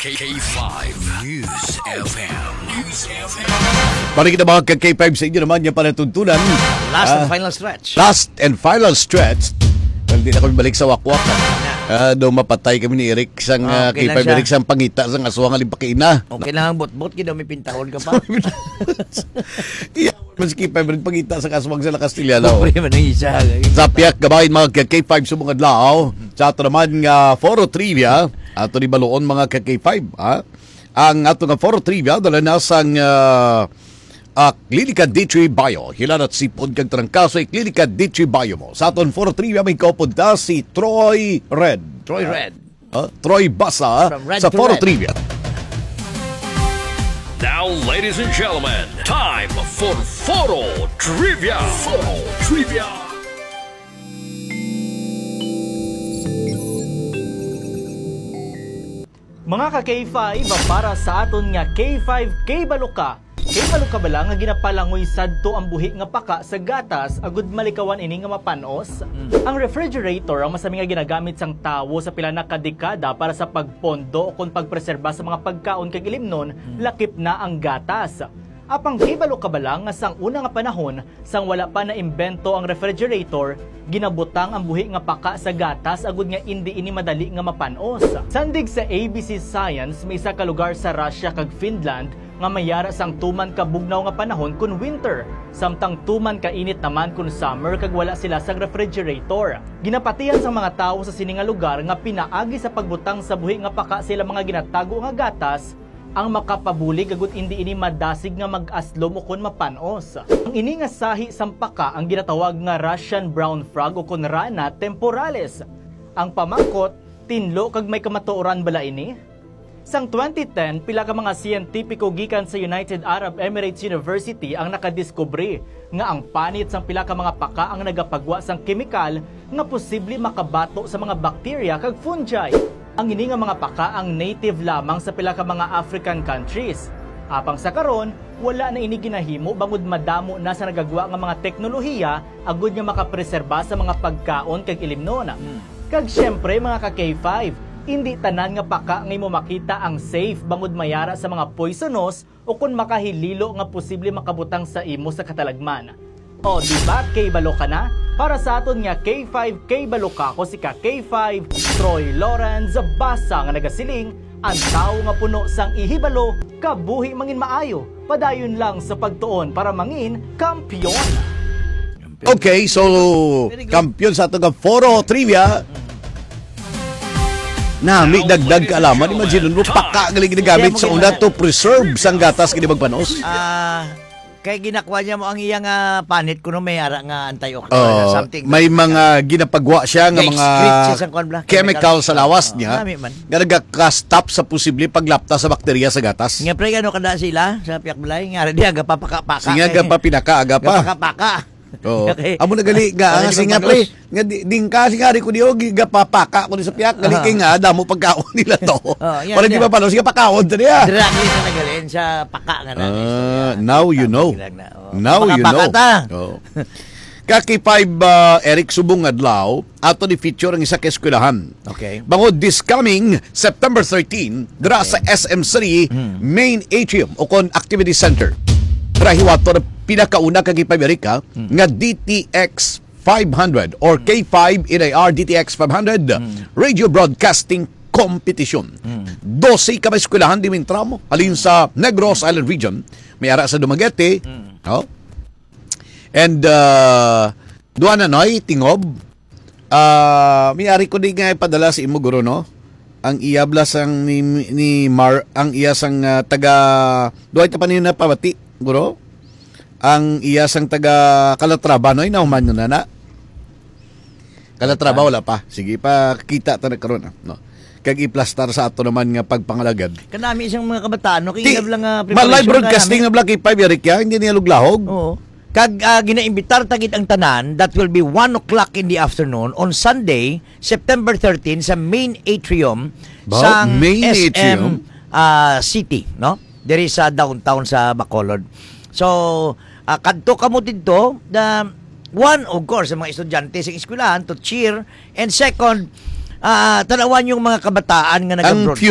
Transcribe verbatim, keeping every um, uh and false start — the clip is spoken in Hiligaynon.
K five News F M. News F M. Para kita mga ka K five sa inyo naman yung panatuntunan. Last and Ah, final stretch. Last and final stretch. Well, di na kami balik sa wakwak. Ah, daw mapatay kami ni Eric sang, Ah, ah, okay lang K five siya. Eric sang pangita sang aswang aling pakaina. Okay lang ang botbot, kaya daw may pintahon ka pa. Iya, mas K five rin pangita sa kaswag sa Kastilya, no? Pobre man ang isa. Sa piyak gabahin, mga ka K five, subong adlaw. Sa ato naman nga Foro Trivia, ato ni baluon, mga ka K five, ha? Ang ato nga Foro Trivia, dala na sang, ah, ah, Klinika D three Bio. Hilanat sipon kag trangkaso, Klinika D three Bio mo. Sa aton Foro Trivia, may kaupod ta si Troy Red. Troy Red. Ah, Troy Basa From Red sa to Foro Red. Trivia. Now, ladies and gentlemen, time for Foro Trivia. Foro Trivia. Mga ka K five, para sa aton nga K five K Baloka, Kay balo ka bala nga ginapalangoy sadto ang buhi nga paka sa gatas agud malikawan ini nga mapan-os? Mm. Ang refrigerator ang masami nga ginagamit sang tawo sa pila na ka dekada para sa pagpondo ukon pagpreserba sa mga pagkaon kag ilimnon, Mm. lakip na ang gatas. Apang kay balo ka bala nga sang una nga panahon, sang wala pa naimbento ang refrigerator, ginabutang ang buhi nga paka sa gatas agud nga indi ini madali nga mapan-os. Sandig sa A B C Science, may isa ka lugar sa Russia kag Finland nga may ara sang tuman ka bugnaw nga panahon kon winter, samtang tuman ka init naman kon summer kag wala sila sang refrigerator. Ginapatihan sang mga tawo sa sini nga lugar nga pinaagi sa pagbutang sa buhi nga paka sa ila mga ginatago nga gatas ang makapabulig agud indi ini madasig nga mag-aslom ukon mapan-os. Ang ini nga sahi sang paka ang ginatawag nga Russian brown frog ukon Rana temporalis. Ang pamangkot, tinlo kag may kamatuoran bala ini? Sang twenty ten, pila ka mga siyentipiko gikan sa United Arab Emirates University ang nakadiskubre nga ang panit sang pila ka mga paka ang nagapagwa sang kemikal nga posible makabato sa mga bakterya kag fungi. Ang ini nga mga paka ang native lamang sa pila ka mga African countries. Apang sa karon, wala na ini ginahimo bangod madamo na sa nagagwa nga mga teknolohiya agud nga makapreserba sa mga pagkaon kag ilimnon. Hmm. Kag siyempre, mga ka K five, indi tanan nga paka nga imo makita ang safe bangod may ara sa mga poisonous o kon makahililo nga posible makabutang sa imo sa katalagman. O, di ba, kay balo ka na? Para sa aton nga K five, kay balo ka, ko si ka K five, Troy Lawrence Basa nga nagasiling, ang tawo nga puno sang ihibalo, kabuhi mangin maayo, padayon lang sa pagtuon para mangin kampiyon. Okay, so, Very good. Kampiyon sa ato nga Foro Trivia. Nami, dagdag kaalaman. Imagine mo, paka nga ginagamit sa una to preserve sang gatas gid magpanos. Ah, kay ginakuha niya mo ang iyang, ah, panit kuno may ara nga antioxidant Oh, or something. May mga ginapagwa siya nga mga excrete siya sa kuwan bala, chemical sa lawas niya. Nami man. Nga nagaka-stop sa posible paglapta sa bakterya sa gatas. Nga pre, ano kada sila sa piyak balay? Nga, di, agapapaka-paka. Sige, agapapinaka, agapa. Agapapaka. Oo. Okay. Amo na gali nga, Ano ang di singa, magpanos? Pre, nga di, ding ka, singa, di ko di, oh, gigapapaka ko di sa piyak, gali Ah. kay nga, damo pagkaon nila to. Oh, yan, Para di yan. Mapanos, sige, pakaon to niya. Drag na nagalin sa paka nga na. Ah, So, yan. now you Tama, know. Drag na. Oh. Now you Paka-paka know. Ta. Oh. Kaki five, uh, Eric, subong adlaw, ato ni feature ang isa ka eskwelahan. Okay. Bangod this coming September thirteen, dira Okay. sa S M City Mm. Main Atrium o kon Activity Center. Dira hiwaton ang pinakauna kag ipamerika Mm. nga D T X five hundred or Mm. K five N I R D T X five hundred Mm. Radio Broadcasting Competition. Mm. Dose ka may eskwelahan di mintramo. Halin sa Negros Island Region, may ara sa Dumaguete, Mm. oh. And, uh, duha na, Noy, tingob. Ah, may ari ko di nga ipadala sa imo, guro, no? Ang iya bala sang ni, ni Mar, ang iya sang, ah, taga, duha ta pa niyo napabati, guro? Ang iya sang taga Calatrava, no? Inahuman nyo na na? Calatrava, wala pa. Sige, pakita ta na karon, ah, no? Kag iplastar sa ato naman nga pagpangalagad. Kanami siyang mga kabataan, no? Kay Ti-, ina lang, ah, ma-live preparation broadcasting kanami. Na bala kay Five Eric, ya? Hindi niya luglahog? Oo. Kag, ah, ginaimbitar ta gid ang tanan, that will be one o'clock in the afternoon on Sunday, September thirteen, sa main atrium Ba? sang Main S M, atrium? ah, City, no? Diri sa downtown sa Bacolod. So, ah, kadto kamo didto, the, one, of course, sa mga estudyante sa eskwelahan to cheer, and second, ah, tanawan yung mga kabataan nga Ang nag-abroad.